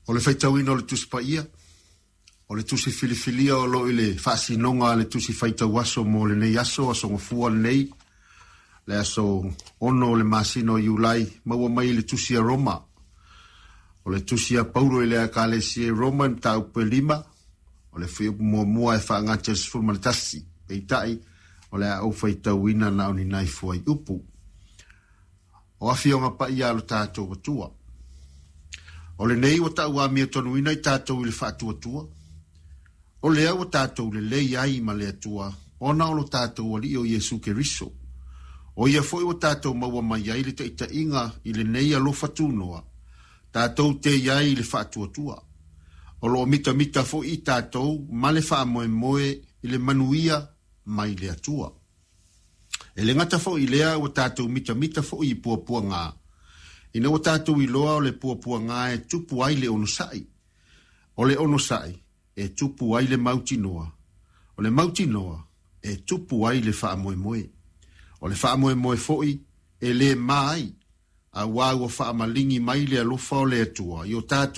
O le faitauina o le Tusi Paia, o le Tusi filifilia o lo o i le faasinoga a le Tusi Faitau Aso mo lenei aso, Aso Gafua lenei, le aso 6 o le masina o Iulai, maua mai i le Tusi a Roma. O le Tusi a Paulo i le Ekalesia i Roma i mataupu e 5, o le fuaiupu muamua e faagata i le 11. Peitai, o le a ou faitauina na o ni nai fuaiupu. O Afioga Paia a lo tatou Atua. O lenei ua tau amiatonuina i tatou i le faatuatua, o lea ua tatou lelei ai ma le Atua, ona o lo tatou Alii o Iesu Keriso. O ia foi ua tatou maua mai ai le taitaiga i lenei alofa tunoa, tatou te i ai i le faatuatua. O lo o mitamita foi i tatou ma le faamoemoe i le manuia mai le Atua. E le gata foi i lea ua tatou mitamita foi i puapuaga, ina ua tatou iloa o le puapuaga e tupu ai le onosai. O le onosai e tupu ai le mautinoa. O le mautinoa e tupu ai le faamoemoe. O le faamoemoe foi e le ma ai, auā ua faamaligi mai le alofa o le Atua i o tatou.